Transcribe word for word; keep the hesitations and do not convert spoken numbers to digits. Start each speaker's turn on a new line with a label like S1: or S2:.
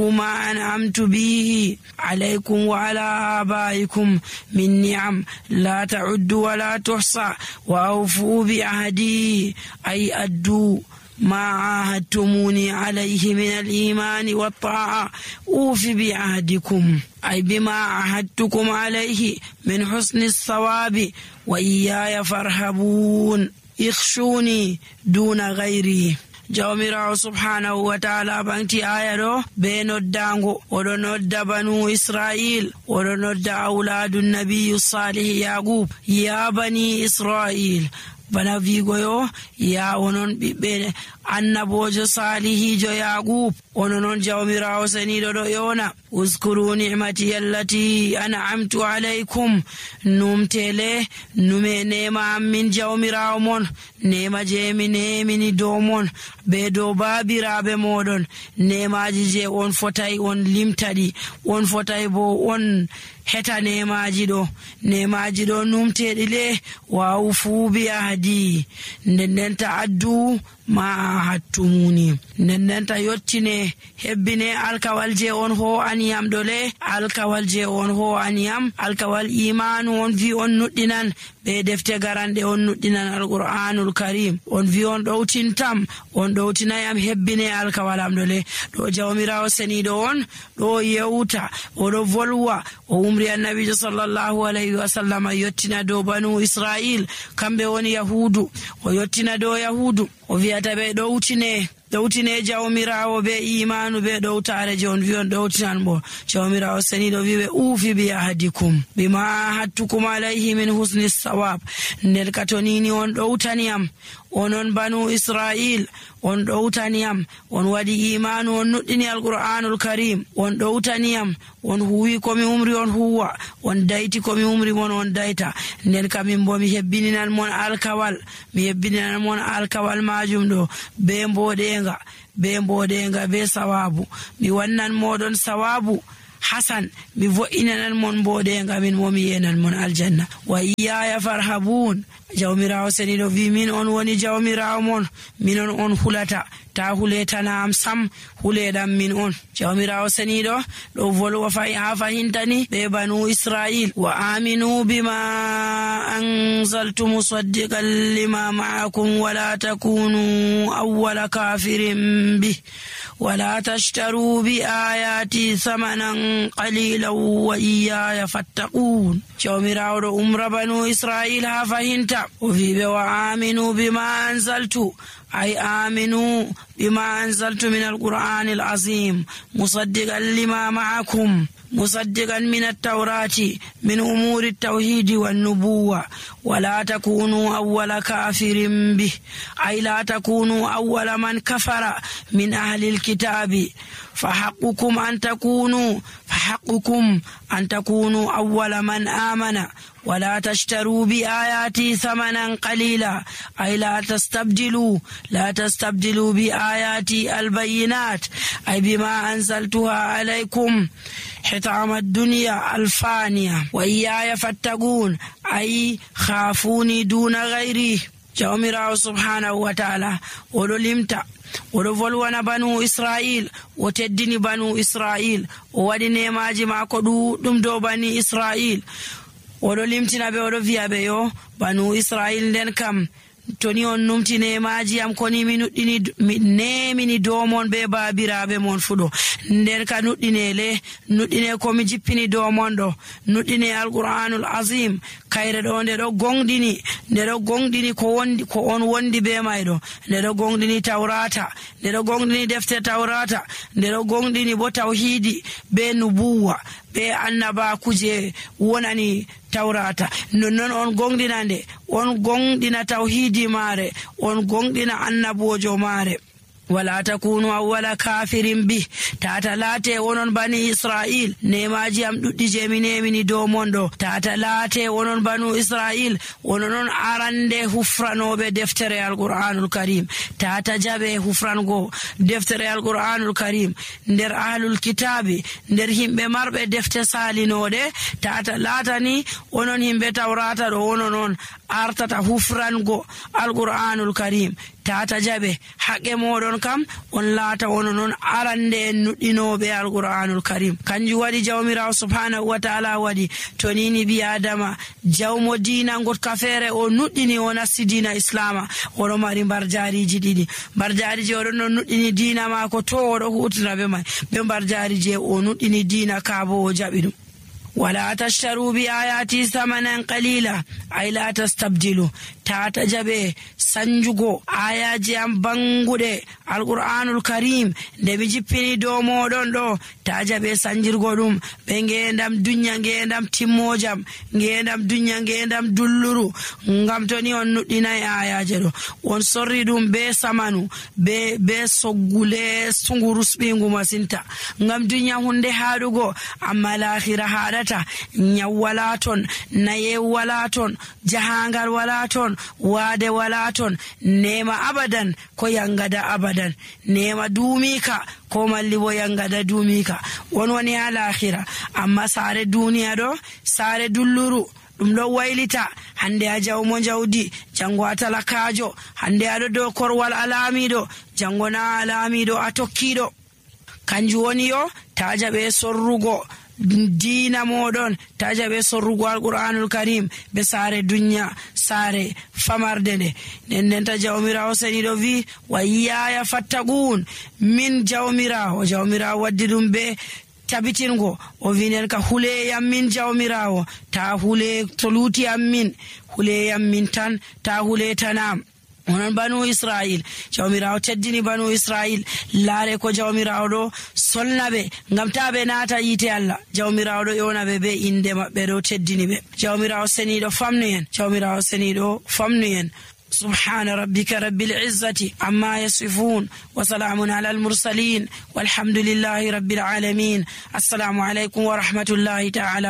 S1: ما أنعمت به عليكم وعلى آبائكم من نعم لا تعد ولا تحصى وأوفوا بعهدي أي أدوا ما عاهدتموني عليه من الإيمان والطاعة أوف بعهدكم أي بما عاهدتكم عليه من حسن الصواب وإياي فارهبون اخشوني دون غيري. Jawmirawo subhanahu wa ta'ala banti aya do be noddango odo nodda banu Israil odo nodda auladun nabiyyu salih Yaqub ya bani Israil bana vigo yo ya onon bibbe annabojo salihijo Yaqub onon jawmirawo senido do yona uskuru ni'mati allati an'amtu alaykum numtele nume nema min jawmirawo mon nema je mi nemini do mon be do babirabe modon nemaji je on fotai on limtadi on fotai bo on heta nemaji do nemaji do numtedi le wa ufu bi ahdi nden ta'addu ma hattumuni nden ta yottine hebbine alkawal je on ho aniyam dole alkawal je on ho aniyam alkawal imanu on vi on nuddinan be defte garande on nuddinan alqur'anul karim on vi on dowtintam on dowtinayam hebbine alkawalam dole do jawmirawo senido on do yewta o do volwa o umri annabi sallallahu alaihi wasallam yottina do banu Israil kambe woni yahudu o yottina do yahudu o viata be dowtine dowtine jawmirawo be imanu be dowtare je on vion dowtinan bo jawmirawo senido vibe ufi bi ahadikum bima hattukum alayhi min husni sawab nder katonini on dowtaniyam onon banu Israil on dowtaniyam on wadi imanu on nuddini alqur'anul karim on dowtaniyam on huwi komi umri on huwa on dayti komi umri mon on dayta nden kamin bo mi hebbininan mon alkawal mi hebbininan mon alkawal majum do be mbodenga be mbodenga be sawabu mi wannan modon sawabu hasan mi vo'inanan mon mbodenga min mo mi yenan mon aljanna wa iyaya farhabun jawmirawo senido vi min on woni jawmirawo mon min on on hulata ta huletana am sam huledam min on jawmirawo senido do volwa fa ha fahintani be banu Israil wa aminu bima anzaltu musaddiqan lima ma'akum wa la takunu awwala kafirin bih ولا تشتروا بآياتي ثمنا قليلا وإياي فاتقون جوميراو أمر بنو إسرائيل هافهنتا وفي بوا آمنوا بما أنزلت أي آمنوا بما أنزلت من القرآن العظيم مصدقا لما معكم مصدقا من التوراة من أمور التوحيد والنبوة ولا تكونوا أول كافر به أي لا تكونوا أول من كفر من أهل الكتاب فحقكم أن تكونوا فحقكم أن تكونوا أول من آمن ولا تشتروا بآياتي ثمنا قليلا أي لا تستبدلوا لا تستبدلوا بآياتي البينات أي بما أنزلتها عليكم حطام الدنيا الفانية وإياي فاتقون أي خافوني دون غيري جوميراو سبحانه وتعالى ولمتا ولولwana banu Israil o teddini banu Israil o wadi nemaji mako dum do bani Israil odo limtina be odo viya be yo banu Israil nden kam toni on numtine maji am koni mi nuddini nemini domon be babirabe mon fudo nden ka nuddinele nuddine ko mi jippini domon do nuddine alquranul azim kayre do nde do gongdini nde do gongdini ko wondi ko on wondi be maydo nde do gongdini tawrata nde do gongdini defte tawrata nde do gongdini bo tauhidi be nubuwa be annaba kuje wonani tawrata non on gongdinande on gongdina tauhidi mare on gongdina annabojo mare wala takunu awwala kafirin bi tata late wonon bani Israil nemaji am duddi jemine mini do mondo tata late wonon banu Israil wonon arande hufranobe deftere alquranul karim tata jabe hufrango deftere alquranul karim nder ahlul kitabi nder himbe marbe defte salinode tata latani wonon himbe tawrata do wonon artata hufrango alqur'anul karim tata jabe haqqe modon kam on laata wono non arande en nuddinobe alqur'anul karim kanju wadi jawmirawo subhanahu wa ta'ala wadi to nini bi adama jawmo dina ngot kafere o nuddini o nasti dina islama o mari barjariji didi barjariji o don nuddini dina mako to o do hutina be mai be barjariji o nuddini dina kabo o jabi dum wala tashtaru bi ayati thamanan qalila ay la tastabdilu tata jabe sanjugo ayaji am bangude alqur'anul karim de bi jippini do modon do ta jabe sanjirgo dum be ngendam dunya ngendam timmojam ngendam dunya ngendam dulluru ngam toni on nuddina ayaje do on sorri dum be samanu be be soggule sungurus bingu masinta ngam dunya hunde hadugo amma l'akhirah hadata nyawalaton naye walaton jahangal walaton wade walaton nema abadan ko yangada abadan nema dumika ko malli bo yangada dumika won woni ala akhira amma sare duniya do sare dulluru dum do waylita hande a jawmo jawdi jango atalakajo hande ado do korwal alamido jango na alamido atokkido kanju woni yo tajabe sorrugo dina modon tajabe sorrugo alqur'anul karim be sare dunya sare famarde de nen ta jawmirawo seni do vi wa ya fattagun min jawmirawo jawmirawo waddi dum be tabitingo o vinen ka hule yam min jawmirawo ta hule to luti am min hule yam min tan ta hule tanam onon banu israil jawmirawo teddini banu israil laare ko jawmirawo do solnabe ngam tabe naata yite Allah jawmirawo do yonabe be inde mabbe do teddini be jawmirawo seni do famnu en jawmirawo seni do famnu en سبحان ربك رب العزة عما يصفون وسلام على المرسلين والحمد لله رب العالمين. السلام عليكم ورحمة الله تعالى